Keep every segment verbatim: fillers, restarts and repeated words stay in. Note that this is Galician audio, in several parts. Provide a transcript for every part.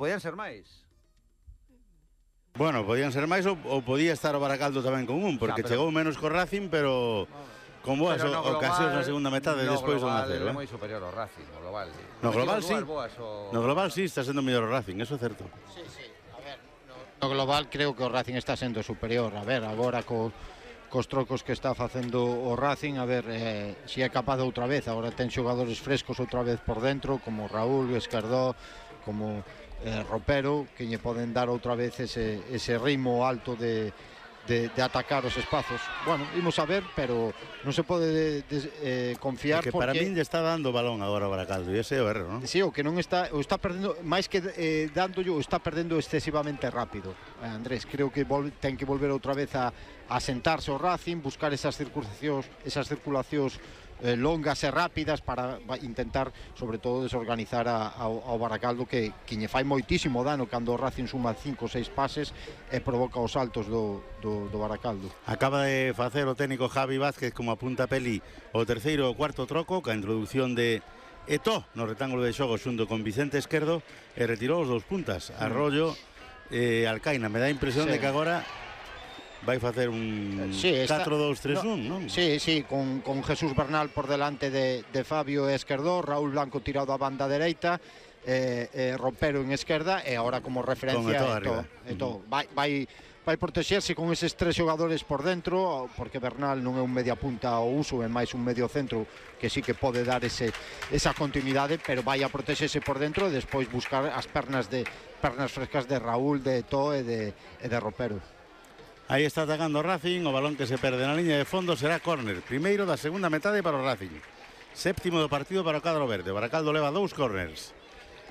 Podían ser máis. Bueno, podían ser máis ou, ou podía estar o Baracaldo tamén con un, porque Xa, pero... chegou menos co Racing, pero con boas pero no ocasións global, na segunda metade no despois do global cero. É moi superior ao Racing, no global. Sí. No global sí. O... No global sí está sendo mellor o Racing, eso é certo. Sí, sí. A ver, no, no global creo que o Racing está sendo superior. A ver, agora co cos trocos que está facendo o Racing, a ver eh, si é capaz outra vez. Agora ten xogadores frescos outra vez por dentro, como Raúl, Escardó, como eh, Ropero, que lle poden dar outra vez ese, ese ritmo alto de, de, de atacar os espazos. Bueno, imos a ver, pero non se pode de, de, eh, confiar, porque porque... para min lle está dando balón agora o Baracaldo, e ese é o erro, non? Sí, o que non está, o está perdendo, máis que eh, dándolle, o está perdendo excesivamente rápido. Eh, Andrés, creo que vol, ten que volver outra vez a, a sentarse o Racing, buscar esas circulacións, esas circulacións eh, longas e rápidas para intentar, sobre todo, desorganizar a, ao, ao Baracaldo, que, que lle fai moitísimo dano cando o Racing suma cinco ou seis pases e provoca os saltos do, do, do Baracaldo. Acaba de facer o técnico Javi Vázquez como apunta Peli o terceiro ou cuarto troco, ca introducción de Eto'o no retángulo de xogo xunto con Vicente Esquerdo, e retirou os dous puntas. Arroyo e eh, Alcaina. Me dá a impresión sí. de que agora vai facer un sí, catro dos tres un, no, non? Sí, sí, con, con Jesús Bernal por delante de, de Fabio e Esquerdó, Raúl Blanco tirado a banda dereita, eh, eh, Ropero en esquerda, e agora como referencia Eto'o. Eto'o. Vai, vai, vai protexerse con eses tres xogadores por dentro, porque Bernal non é un media punta ao uso, é máis un medio centro que sí que pode dar ese, esa continuidade, pero vai a protexerse por dentro e despois buscar as pernas de pernas frescas de Raúl, de Eto'o e de, e de Ropero. Aí está atacando o Racing, o balón que se perde na liña de fondo será córner, primeiro da segunda metade para o Racing, séptimo do partido para o cadro verde. Baracaldo leva dous córners.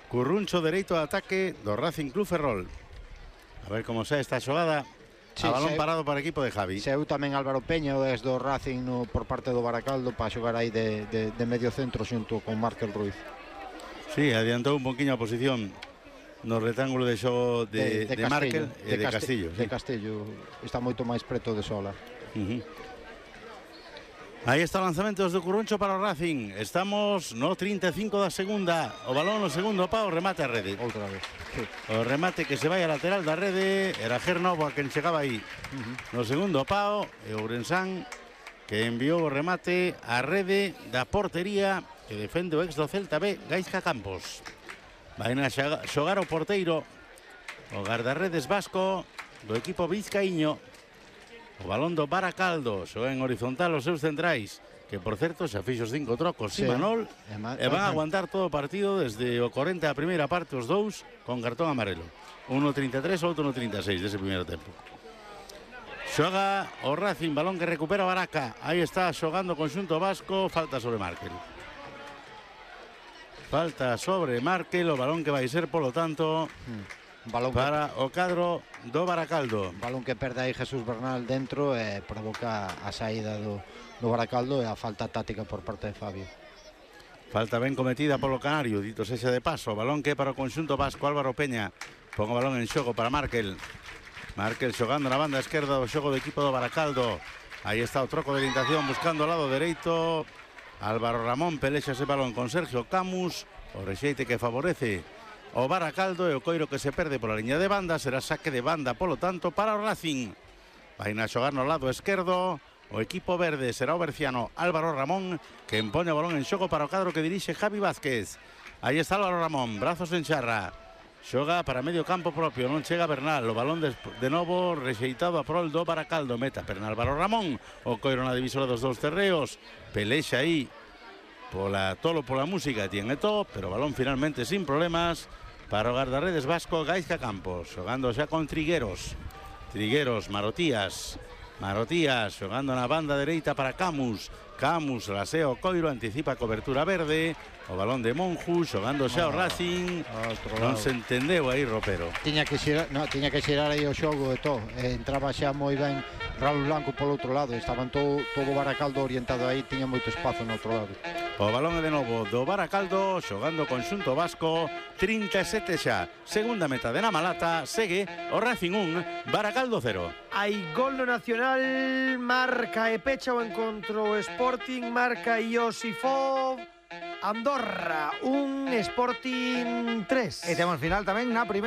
Curruncho dereito de ataque do Racing Club Ferrol. A ver como xa esta xogada. Sí, a balón seu, parado para o equipo de Javi. Seu tamén Álvaro Peña, o ex do Racing no, por parte do Baracaldo, para xogar aí de, de, de medio centro xunto con Márquez Ruiz. Sí, adiantou un poquinho a posición no retángulo de xogo de, de, de, de Márquez e de, de Castillo. De Castillo, está moito máis preto de Sola. Uh -huh. Aí está o lanzamento do Curruncho para o Racing. Estamos no trinta e cinco da segunda. O balón no segundo pau, remate a rede. Outra vez. Sí. O remate que se vai a lateral da rede. Era Gernovo a quen chegaba aí. Uh -huh. No segundo pau, e Ourensán que enviou o remate a rede da portería que defende o ex do Celta B, Gaizka Campos. Vai a xogar o porteiro, o guardarredes vasco do equipo vizcaíño. O balón do Baracaldo xoga en horizontal os seus centrais, que por certo xa fixo os cinco trocos sí. Simanol, e van a aguantar todo o partido desde o corenta a primeira parte os dous con cartón amarelo. Uno trinta e tres, outro no trinta e seis dese primeiro tempo. Xoga o Racing, balón que recupera Baraca. Aí está xogando o conxunto vasco, falta sobre Márquez. Falta sobre Márquez, o balón que vai ser, polo tanto, mm. balón para que... o cadro do Baracaldo. Balón que perde aí Jesús Bernal dentro e provoca a saída do, do Baracaldo e a falta táctica por parte de Fabio. Falta ben cometida polo Canario, dito sexa de paso. Balón que para o conxunto vasco, Álvaro Peña. Pon o balón en xogo para Márquez. Márquez xogando na banda esquerda do xogo do equipo do Baracaldo. Aí está o troco de orientación buscando o lado dereito. Álvaro Ramón pelexa ese balón con Sergio Camus, o rexeite que favorece o Baracaldo, e o coiro que se perde pola liña de banda será saque de banda, polo tanto, para o Racing. Vai a xogar no lado esquerdo o equipo verde, será o berciano Álvaro Ramón, que empoña o balón en xogo para o cadro que dirixe Javi Vázquez. Aí está Álvaro Ramón, brazos en charra, xoga para medio campo propio, non chega Bernal, o balón de, de novo rexeitado a prol do Baracaldo, meta perna Álvaro Ramón, o coiro na divisora dos dous terreos, pelexa aí pola tolo pola música tiene Eto'o, pero balón finalmente sin problemas para o guardarredes vasco Gaizka Campos, xogando xa con Trigueros. Trigueros, Marotías, Marotías xogando na banda dereita para Camus. Camus lasea o coiro, anticipa a cobertura verde. O balón de Monju xogando xa o Racing. Non se entendeu aí Ropero. Tiña que xerar, no, tiña que xerar aí o xogo e todo. Eh, entraba xa moi ben Raúl Blanco polo outro lado. Estaban todo, todo o Baracaldo orientado aí, tiña moito espazo no outro lado. O balón é de novo do Baracaldo, xogando conxunto vasco, trinta e sete xa. Segunda metade na Malata, segue o Racing un, Baracaldo cero. Hai gol no Nacional, marca e pecha o encontro Sporting, marca Iosifov. Andorra, un Sporting tres. E temos final tamén na primeira.